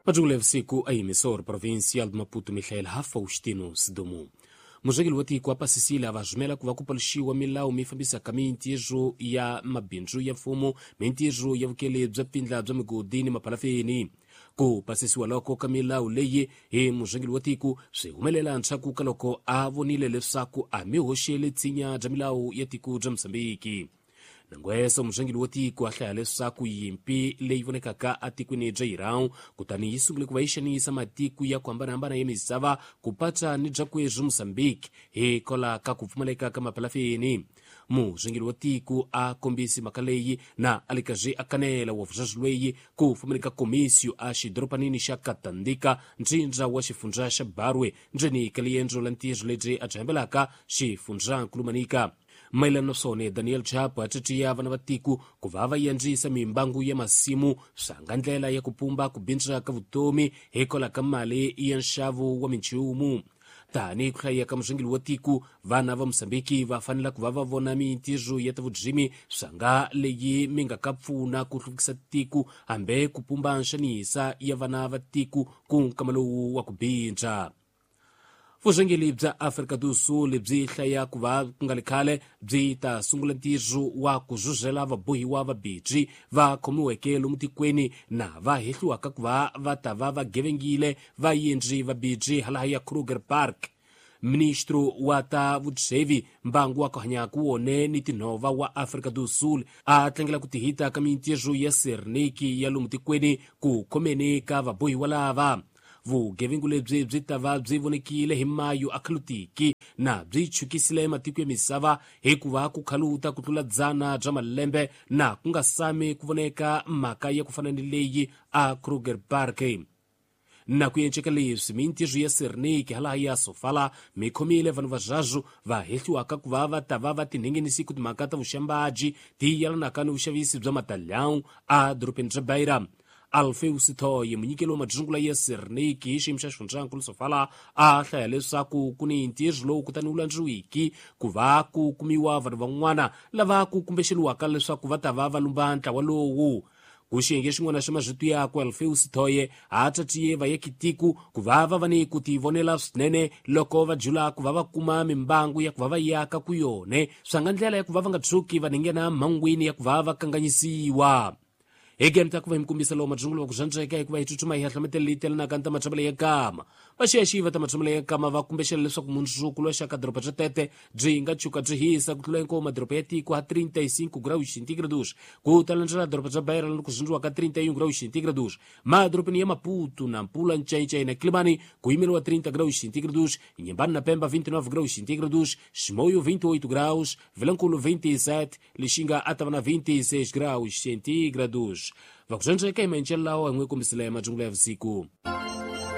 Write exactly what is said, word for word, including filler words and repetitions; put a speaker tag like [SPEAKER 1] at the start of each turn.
[SPEAKER 1] Majungula ya vusiku a emissor provincial de Maputo Michael Faustino Sidomu. Muzengeli wa tiko apasisile a vazumela ku va ku paluxiwa milawu mi fambisaka mintirho ya mabindzu ya mfumo, mintirho ya vukele bya pfindla bya migodi ni mapalafeni. Ku pasisiwa loko ka milawu leyi hi muzengeli wa tiko swi humelela ndzhaku ka loko a vonile leswaku a mi hoxele tsinya bya milawu ya tiko bya Mozambiki. Nangweso muzengeli wa tiko a hlaya leswaku yimpi leyi vonekaka atikweni bya Iran kutani yi sungule ku va yi xanisa matiko ya ku hambanahambana ya misava ku patsa ni bya kwezwi Mozambique hikola ka ku pfumaleka ka mapalafeni. Muzengeli wa tiko a kombisi mhaka leyi na a le karhi a kanela wa vuzazi lweyi ku pfumaleka komisio a xidoropanini xa Katandika ntsindza wa xifundza xa Barwe ndzeni ka liendzo la ntirho lebyi a byi hambelaka xifundzankulu Manica. Mayelana na swona Daniel Chapo a titiya vana va tiko ku va va yandzisa mimbangu ya masimu swa nga ndlela ya ku pumba ku bindza ka vutomi hikwalaho ka mali ya nxavo wa minchumu. Tanihi ku hlaya ka muzengeli wa tiko, vana va Mozambiki va fanele ku va va vona mintirho ya ta vurimi swa nga leyi mi nga ka pfuna ku hluvukisa tiko hambi ku pumba nxanisa ya vana va tiko ku nkama lowu wa ku bindza. Vuzengeli bya Afrika do Sul byi hlaya ku va ku nga le khale byi ta sungula ntirho wa ku zuzela vabohiwa va bidzi va khomiweke lomu tikweni na va hehliwaka ku va va ta va va gevengile vayendzi va bidzi halaha ya Kruger Park. Ministro wa ta vutsevi mbangu wa ku hanya ku wone ni tinhova wa Afrika do Sul a tlangela ku tihita ka mintirho ya Serniki ya lomu tikweni ku khomeni ka vabohiwa lava. Vugevengu lebyi byi ta va byi vonekile hi mayu a khalutiki na byi chukisile matiko ya misava hikuva ku khaluta ku tlula dzana bya malembe na ku nga sami ku voneka mhaka ya ku fana ni leyi a Kruger Park. Na ku enceka leswi mintirho ya Serniki halaha ya Sofala mi khomile vanhu va zwazu va hehliwaka ku va va ta va va tinhengenisi ku timhaka ta vuxambaji ti yelanaka ni vuxavisi bya matalhão a dorobeni bya Beira. Alfeus Thoye munyikeli wa madzungula ya Serniki hi xiyimo xa xifundzankulu Sofala a hlaya leswaku ku ni ntirho lowu kutani wu landziwiki ku va ku kumiwa vanhu van'wana lava ku kumbexeliwaka leswaku va ta va va lumba ntlawa lowu. Ku xiyenge xin'wana xa mazwito yakwe Alfeus Thoye a tatiye vayakitiko ku va va va ni ku tivonela swinene loko va jula ku va va kuma mimbangu ya ku va va yaka ku yone swa nga ndlela ya ku va va nga tshuki va nghena mhangwini ya ku va va kanganyisiwa. Again ta ku va hi mikombisa lowu madzungula wa ku zvandzeka hikuva hi tsutsuma hi hahlametela leyi telanaka ni ta matshambele ya kama. Vaxiyaxiva ta matshambele ya kama va kumbexela leswaku mundzuku lowa xaka doroba bya Tete byi nga tshuka byi hisa ku tlula hinkwawo madoroba ya tiko ha trinta e cinco graus centígrados ku ta landzela doroba bya Beira loko zindziwaka trinta e um graus centígrados. Madorobeni ya Maputo, Nampula, Ncaincai na Quilimane ku yimeriwa trinta graus centígrados, Inhambane na Pemba vinte e nove graus centígrados, Chimoio vinte e oito graus, Vilanculo vinte e sete, Lixinga a tava na vinte e seis graus centígrados. Vakuzenjeka imenjela lawa n'we kombisile ya madzungula ya vusiku.